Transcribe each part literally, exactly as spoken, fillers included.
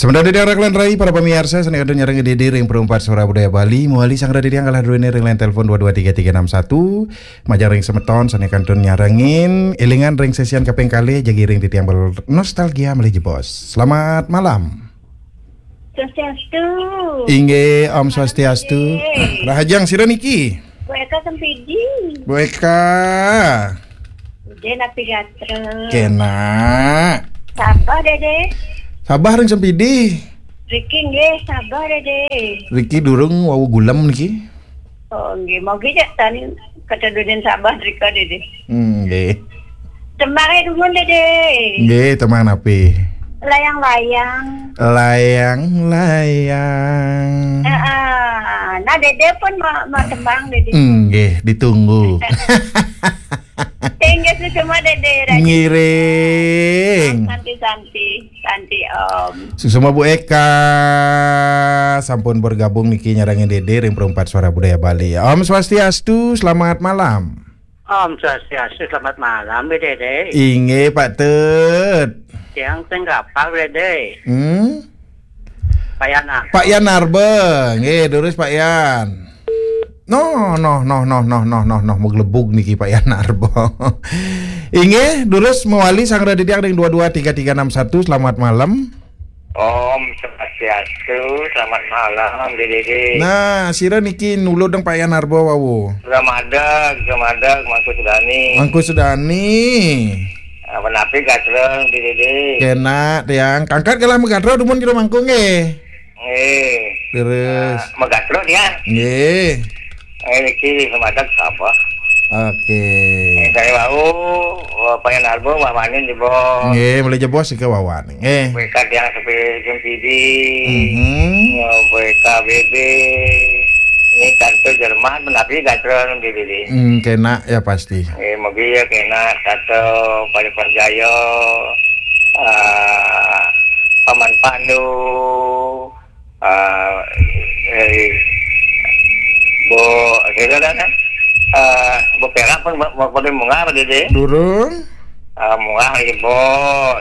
Sementara di daerah Kalian Rai, para pemirsa, sané kantun nyarengin Dédé ring Perumpat Suara Budaya Bali, mawali sang Dédé yang kalah duene ring line telepon dua dua tiga tiga enam satu, majeng ring semeton sané kantun nyarengin, élingan ring sesian kaping kalih, jagi ring titiang bel-, nostalgia malih jebos. Selamat malam. Swastiastu. Inggih, Om Swastiastu. Inggih. Rahajeng sira niki? Bu Eka Sempidi. Bu Eka. Dédé napi gatra? Kenak. Sabah, Dédé. Sabah ring Sempidi. Riki nggih, Sabah, Dédé. Riki durung wau gulem niki. Oh, nggih, mangke jak tan ketedunin Sabah rika, Dédé. Hmm, nggih. Tembangé dumun, Dédé. Nggih, tembang napi? Layang-layang. Layang-layang. Heeh. Nah, Dédé pun mau, mau tembang, Dédé. Nggih, ditunggu. Inggih, suksma, Dédé. Ngiring. Santi, Santi, Santi, Om. Suksma Bu Eka, sampun bergabung niki nyarengin Dédé ring Perumpat Suara Budaya Bali. Om Swastiastu, selamat malam. Om Swastiastu, selamat malam, Dédé. Inggih, Pak Tut. Tiang sing kapal, Dédé. Hmm? Pak Yan Arba. Pak Yan Arba. Nggih, durus Pak Yan. No, no, no, no, no, no, no, no, maglebug niki Pak Yan Arba. Inggih, durus mawali sang Dédé ring dua dua tiga tiga enam satu. Selamat malam. Om Swastiastu, selamat malam, Dédé. Nah, sira niki nulud deng Pak Yan Arba wau. Selamat malam, selamat malam, Mangku Sudani. Mangku Sudani. Ah, menapi gatra, Dédé? Kenak, tiang. Kangkat kalah magatra dumun kira Mangku nggih. Nggih. Terus. Ah, magatra, tiang. Nggih. Eh, niki semadak sapa? Oke. Eh, saya wau, Pak Yan Arba, Mbak Manin jebos. Nggih, malih jebos ika wawan. Nggih. Mereka tiang sepi Sempidi. Mhm. Ya, mereka B B. Ini kantor Jerman, menapi gatra, Dédé. Hmm, kenak ya pasti. Eh, mobil ya kenak, kata Pak Jaya, ah, Paman Pandu, ah, eh, Bu, sira dah, kan? Ah, Bu Perak pun ba-, ba-, pada munggah, Dédé? Durung. Ah, munggah lagi, Bos.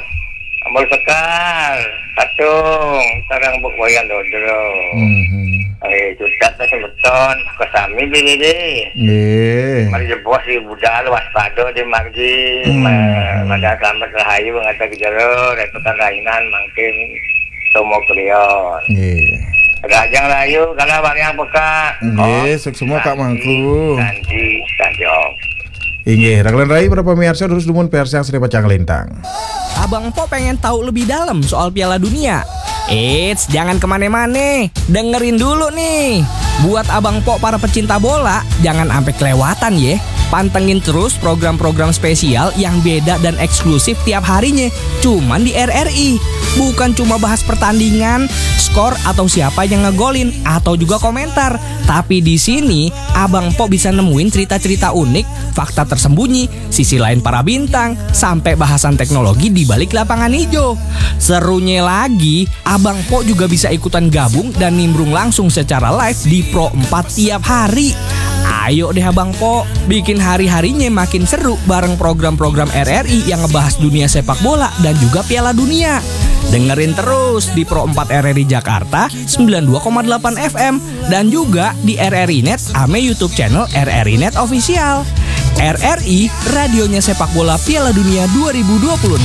Ambil Sekar, Katung, sareng Bu Wayan Dodro. Mhm. Eh, cutet dah semeton, kesami, Dédé. Nggih. Mari jebos di budal, waspada di margi. Hmm. Ma-, mada selamat rahayu, ngata ke jero, retukan rainan, mangkin tomo kelion. Nggih. Rajang rahayu, kala wariang peka. Nggih, Om. Suksma, Kak Mangku. Santi, Santi, Om. Inggih, Raglan Rai, para pemirsa, terus dumun persang sri pacang lintang. Abang Empok pengen tahu lebih dalam soal Piala Dunia? Eits, jangan kemana-mana. Dengerin dulu nih. Buat Abang Empok para pecinta bola, jangan ampe kelewatan ya. Pantengin terus program-program spesial yang beda dan eksklusif tiap harinya. Cuman di R R I. Bukan cuma bahas pertandingan, skor atau siapa yang ngegolin, atau juga komentar. Tapi di sini, Abang Empok bisa nemuin cerita-cerita unik, fakta tersembunyi, sisi lain para bintang, sampai bahasan teknologi di balik lapangan hijau. Serunya lagi, Abang Empok juga bisa ikutan gabung dan nimbrung langsung secara live di Pro empat tiap hari. Ayo deh Abang Empok, bikin hari-harinya makin seru bareng program-program R R I yang ngebahas dunia sepak bola dan juga Piala Dunia. Dengerin terus di Pro empat R R I Jakarta sembilan dua koma delapan F M dan juga di R R I Net ame YouTube channel R R I Net Official. R R I, radionya sepak bola Piala Dunia dua ribu dua puluh